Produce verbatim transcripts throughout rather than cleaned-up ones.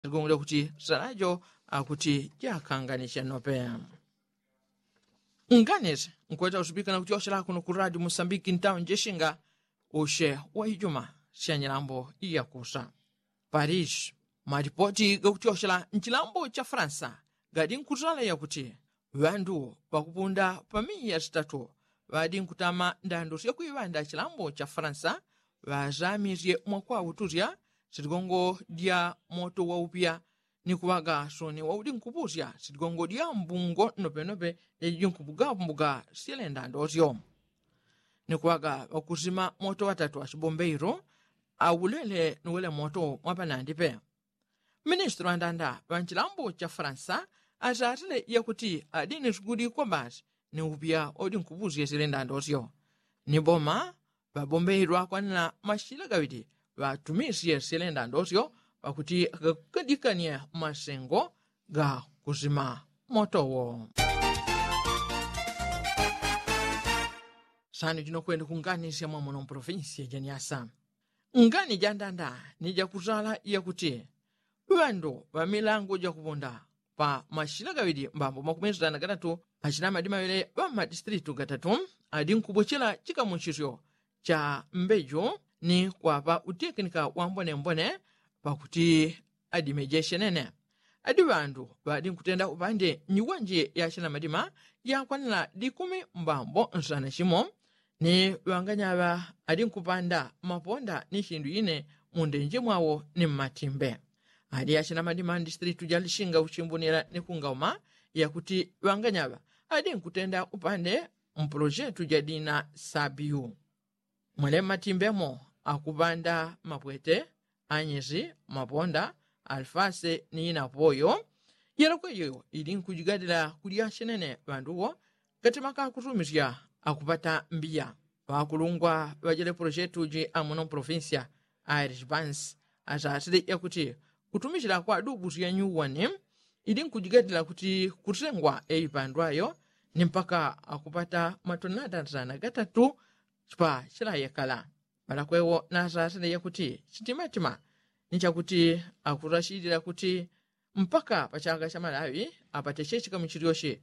Ligongole kuti salajo akuti jakanganishe nope. Nganisi nkweta usipika na kutyoshela kuno ku radio musambiki ntawo njeshinga ushe wa ijuma sya nyilambo iyakusa. Paris, malipoti gakutyoshela nchilambo cha faransa gadi nkutala yakuti ŵandu ŵakupunda pa miya sitatu ŵadi nkutama ndandu sya kuiŵanda chilambo cha faransa ŵazamisye mwakwautusya siligongo lya moto waupya ni kuŵaga soni waudi nkupusya siligongo lya mbungo nopenope lyajiji nkupuga mbuga syele ndandosyo. Ni kuŵaga ŵakusima moto ŵatatu ŵasibombeiro aulele ni wele moto mwapanandi pe. Ministri ŵandanda ŵa nchilambo cha faransa asasile yakuti adi ni sugudi kwa basi ni upya odi nkupusye syele ndandosyo. Ni boma ŵabombeiro akwanila mashila gaŵili ŵatumisye syele ndandosyo ŵakuti gakukadikanye masengo ga kusima moto wo. Sani jino kwenda kunganisya mwamuno mprovinsi ya janiasa. Ngani jandanda ni jakutala yakuti ŵandu ŵa milango jakupunda pa mashila gaŵili mbambo makumi sitana gatatu achina madima ŵele ŵa madistritu gatatu adi nkubuchila chikamuchisyo cha mbeju ni kwapa utekinika wambonembone pakuti adimejeshe nene. Adi ŵandu ŵadi nkutenda upande nyiwanje yachina madima yakwanila dikumi mbambo nsana chimo ni ŵanganyaŵa adi nkupanda maponda ni chindu ine mundenje mwawo ni mmatimbe. Adi yachina madima ndistritu jalishinga uchimbunila ni kungauma yakuti ŵanganyaŵa adi nkutenda upande mpolojetu jadina sabiu. Mwele mmatimbemo akupanda mapwete anyesi maponda alifase ni inapoyo. Yelokweyo ili nkujigadila kulya chenene ŵanduwo katima kakutumisya akupata mbiya. Ŵakulungwa ŵajele polojetu ji amuno mpolofinsiya airish bansi asasile yakuti kutumisila kwa dubu sya nyuwani ili nkujigadila kuti kutengwa eipandwayo ni mpaka akupata matonada nsana gatatu. Chipa chilayekala ŵalakwewo nasasile yakuti chitimatima ni chakuti akurashilila kuti mpaka pa chaka cha malawi apate chechika muchilyoche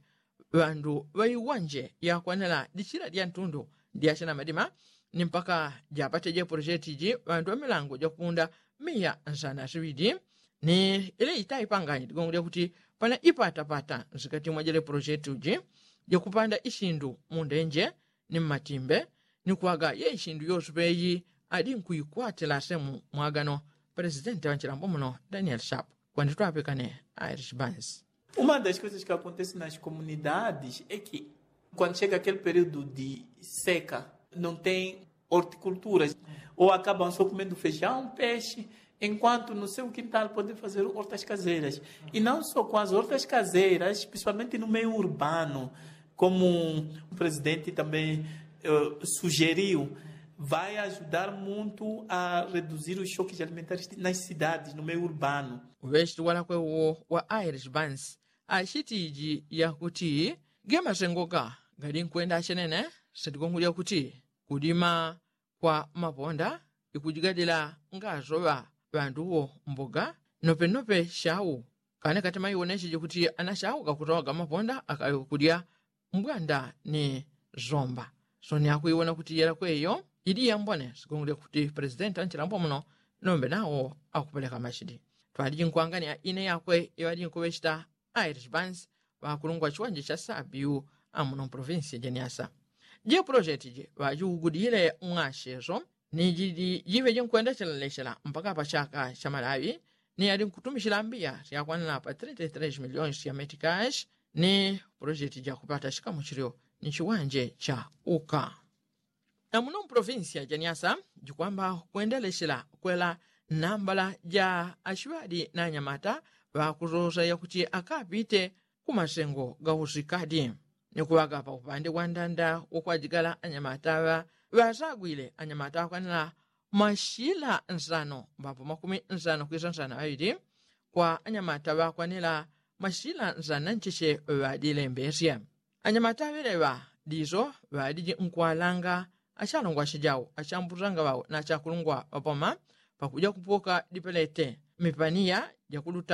ŵandu ŵaiwanje yakwanila dichila dya ntundu dya china madima ni mpaka japate je polocheti ji ŵandu ŵamilango jakupunda miya nsana siŵidi. Ni ile itaipanganye ligongo lyakuti pana ipatapata nsikati mwa jele polocheti uji jakupanda isindu mundenje ni mmatimbe ni kuŵaga ye isindu yosupe iyi adi nkuikwatila semu mwagano. Presidenti ŵa nchilambo muno daniel sharp kwandi twapikane irish bansi. Uma das coisas que acontece nas comunidades é que quando chega aquele período de seca não tem horticulturas ou acabam só comendo feijão peixe enquanto no seu quintal podem fazer hortas caseiras e não só com as hortas caseiras principalmente no meio urbano como o presidente também sugeriu vai ajudar muito a reduzir os choques alimentares nas cidades no meio urbano. Uŵechiti walakwe uwo wa irish bansi achiti iji yakuti ge masengo ga gali nkwenda achenene sitigongo lyakuti kudima kwa maponda ikujigadila ngasoŵa ŵanduwo mbuga nopenope shau. Kane katima iwonecheje kuti ana shau gakutowaga maponda akali kudya mbwanda ni zomba. Soni akuiwona kuti yelakweyo ili yambone sigongo lyakuti presidenti anchilambo muno nombe nawo akupeleka machidi. Twaliji nkwangania ine yakwe iŵaliji nkuŵechita irish bansi ŵakulungwa chiwanje cha sabiu amuno mprovinsi jeniasa. Je polocheti ji ŵajiugudile mwacheso ni jiji jiŵe jinkwenda chelalechela mpaka pa chaka cha malawi ni yali nkutumichila mbiya syakwanila pa trenta y tres miliyoni sya metikashi ni polocheti jakupata chikamuchilyo ni chiwanje cha uka. Amuno mprovinsi ya jeniasa jikwamba kwendelechela kwela nambala ja achiŵadi na anyamata ŵakusosa yakuti akapite ku masengo gausikadi. Ni kuŵaga pa upande wa ndanda wokwajigala anyamata ŵa ŵasagwile anyamata ŵakwanila mashila nsano mbambo makumi nsano kwisa nsano aŵili kwa anyamata ŵakwanila mashila nsano na ncheche ŵadilembesye. Anyamata aŵeleŵa diso ŵadiji nkwalanga achalongwa achijau achambutanga ŵau na achakulungwa ŵapoma pakuja kupoka dipelete mipaniya jakuluta.